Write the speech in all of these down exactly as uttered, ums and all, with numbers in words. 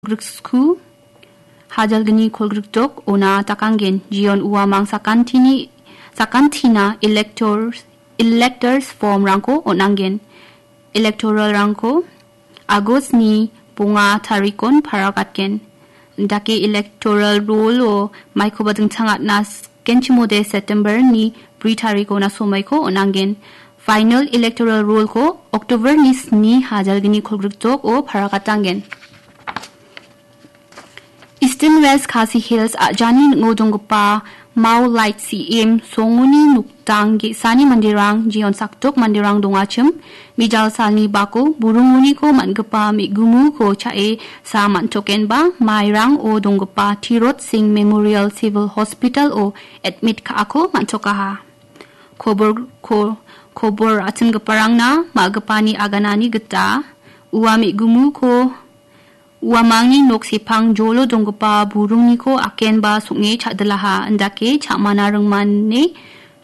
griksku, hajalgni kolgrikdok ona dakanggen. Jeon uamang sakantini, sakantina electors, electors formrangko on·angen. Electoralrangko Agostni bonga tarikon paragatgen. Dake electoral roll-o maikoba dingtang atna skenchimode September-ni bri tarikona somoiko on·angen. Final electoral roll-ko October-ni sni hajalgni kolgrikdok-o paragatanggen. Eastern West Khasi Hills a·jani ning·o donggipa Mao Light C M songoni nokdang ge·sani manderang, jeon sakdok manderang dongachim, mijal salni bako burungoniko man·gipa me·gumuko cha·e sa man·tokenba, Mairang-o donggipa Tirot Singh Memorial Civil Hospital-o admit ka·ako man·tokaha. Kobor, ko-, kobor atimgiparangna ma·gipani aganani gita ua me·gumuko uamangni nok sepang jolo donggipa burungniko akenba song·e cha·dilaha, indake cha·mana ringmane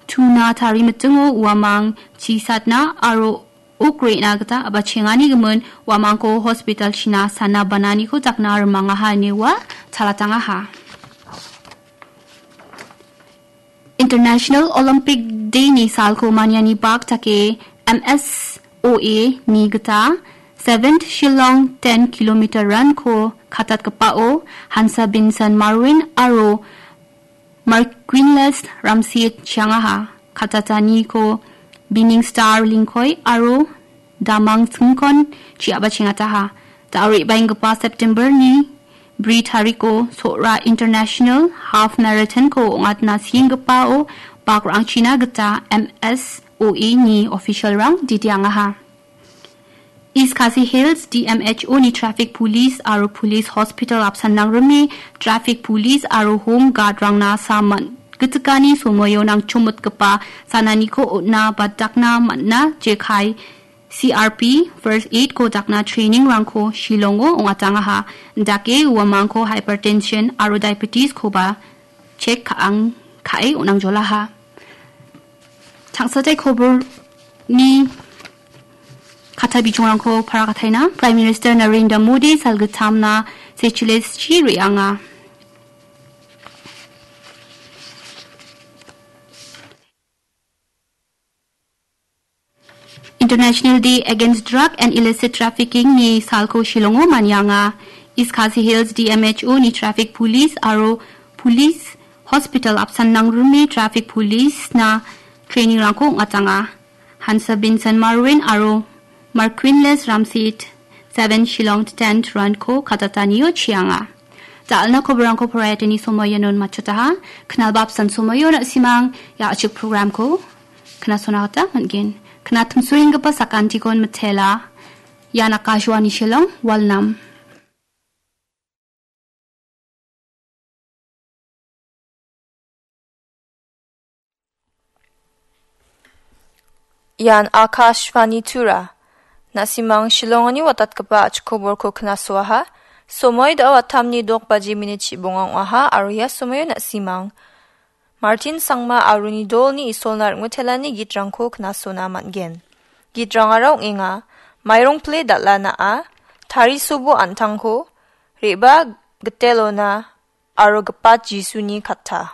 tuna tarimitingo uamang chisatna aro ok re·na gita a·bachengani gimin uamangko hospital-china sana bananiko dakna rimangaha ine ua chalatangaha. International Olympic Day-ni salko maniani bak dake M S O A-ni gita seventh Shillong ten kilometer run-ko katatgipao Hansa Binsan Marwin aro Marquinles Ramsit chiangaha. Katataniko Binning Star Lingkoi aro Damang Singkon chi·aba chengataha. Da·o re·baenggipa September-ni bri tariko Sohra International Half Marathon-ko ong·atna sienggipao bakrangchina gita M S O A-ni official-rang ditiangaha. East Khasi Hills D M H O-ni traffic police aro police hospital apsan nangrime traffic police aro home guard-rangna saman gitikani somoio nangchomitgipa sananiko on·na ba dakna man·na jekai C R P, first aid-ko dakna training-rangko Shillong-o ong·atangaha. Dake uamangko hypertension aro diabetes-koba check ka·ang ka·e on·angjolaha. Tangsatai koborni kata bijongrangko parakataina. Prime Minister Narendra Modi salgittamna Seychelles-chi re·anga. International Day Against Drug and Illicit Trafficking-ni salko Shillong-o manianga. East Khasi Hills D M H O-ni traffic police aro police hospital apsan nangrime traffic police-na training-rangko ong·atanga. Hansa Binsan Marwin aro Marquinles Ramsit seven Shillong tenth run-ko katatanio chianga. Da·alna koborangko poraiatani somoianon matchotaha. Knalba apsan somoio na·simang ia a·chik program-ko knasona gita man·gen. Knatmsoenggipa sakantikon mitela. Ian Akashvani Shillong, Walnam. Ian Akashvani Tura. Na·simang Shillongoni watatgipa a·chik koborko knasoaha. Somoi da·o atamni dok baji minit chibonga ong·aha aro ia somoio na·simang Martin Sangma aroni dolni Isolna ring·otelani gitrangko knasona man·gen. Gitrangara ong·enga, mairong pile dal·a na·a, tarisobo an·tangko, re·baa gitelona, aro gipat Jisuni katta.